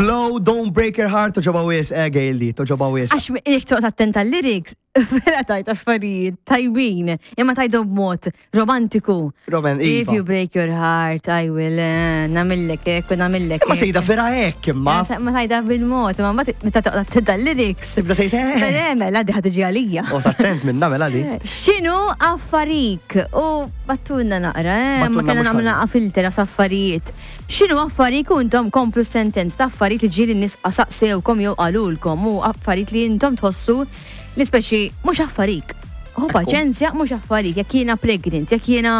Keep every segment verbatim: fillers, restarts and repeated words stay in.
Flo, "Don't Break Your Heart", togħġobha wisq, eh, Gail di, togħġobha wisq. Għax jekk toqgħod attent għal-lyrics, vera tgħid affarijiet tajbin, imma tgħidhom b'mod romantiku. Roman, "If iva. you break your heart, I will eh, nagħmillek hekk u nagħmillek Ma hekk." tgħidha vera hekk, imma. Ma tgħidha bil-mod, imma mbagħad meta toqgħod attent għal-lyrics. Tibda tgħid eh. Eh, mela di ħa tiġi għalija. Oqgħod attent minna mela di. X'inhu affarik? U ibagħtulna naqra, eh? Ma Ibagħtulna kena mhux nagħmlu ħażin. naqra filter ta' affarijiet. X'inhu affarik u intom komplu sentence ta' affarijiet li ġieli n-nies saqsewkom jew qalulkom u affarijiet li intom tħossu li speċi mhux affarik. Hu paċenzja, mhux affarik, jekk jiena pregnant, jekk jiena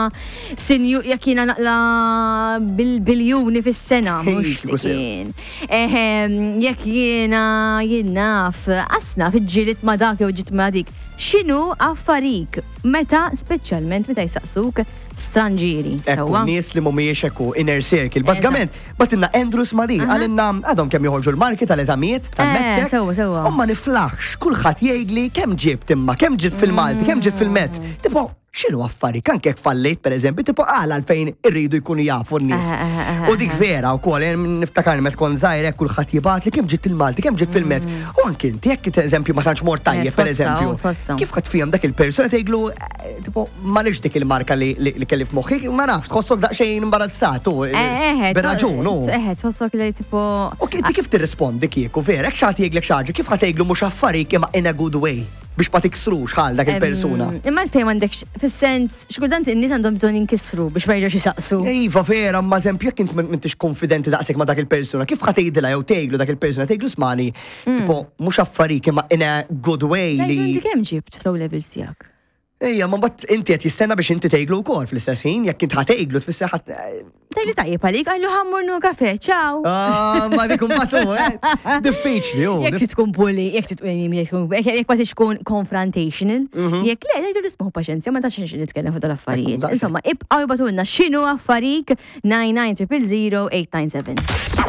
sinju, jekk jiena naqla bil-biljuni fis-sena, mhux Kieku li sew. kien. Ehem, jekk jiena jien naf, asna fiġġilit ma dak jew ġiet ma dik. X'inhu affarik? Meta, speċjalment meta jisaqsuk stranġieri. Ekku, Sewwa? nies li mhumiex ekku inner circle. Bażikament, bagħtilna Andrew Smadi, qalilna għadhom kemm joħorġu l-marki tal-eżamijiet tal-METSEC. Eh, sewwa, sewwa. U ma niflaħx, kulħadd jgħidli kemm ġibt imma, kemm ġibt fil-Malti, kemm ġibt fil-Maths. Tipo, x'inhu affarik, anke jekk fallejt, per eżempju, tipo għala għalfejn irridu jkunu jafu n-nies? Eh, eh, eh, U dik vera wkoll, eh, niftakar meta kont żgħir hekk kulħadd jibgħat li kemm ġibt il-Malti, kemm ġibt fil-Maths. U anke inti jekk eżempju ma tantx mort tajjeb, per Mm. Eh, tħossha, eżempju. u tħossha. Kif ħadd fihom dak il-persuna tgħidlu eh, tipo m'għaliex dik il-marka li li li kelli f'moħħi, ma nafx, tħossok daqsxejn imbarazzat u Eh, eh, bir-raġun, u. Eh, tħossok li tipo. U inti kif tirrispondi kieku, vera, jekk xi ħadd jgħidlek xi ħaġa, kif ħa tgħidlu mhux affarik imma in a good way biex ma tiksrux ħal dak il-persuna? Em, Imma l-fejn m'għandekx, fis-sens, xi kultant in-nies għandhom bżonn jinkisru biex ma jerġgħux jisaqsu. Iva, vera, ma eżempju, jekk int m'intix konfidenti daqshekk ma dak il-persuna, kif ħa tgħidilha jew tgħidlu dak il-persuna, tgħidlu smani, tipo mhux affarik imma in a good way Tgħidlu li. inti kemm ġibt fl-O levels tiegħek? Ejja, ma mbagħad inti qed jistenna biex inti tgħidlu wkoll fl-istess ħin, jekk int ħa tgħidlu tfisser ħadd. Tgħidlu tajjeb għalik, għallu ħa mmur nieħu kafè, ciao. Ah, ma dik imbagħad hu, eh, diffiċli, hu. Jekk trid tkun bully, jekk trid tkun jekk jekk ma tridx tkun confrontational, jekk le, tgħidu isma' paċenzja, ma tantx nitkellem fuq dal-affarijiet. Ekku, daqshekk. Insomma, ibqgħu ibagħtulna x'inhu affarik nine nine triple zero eight nine seven.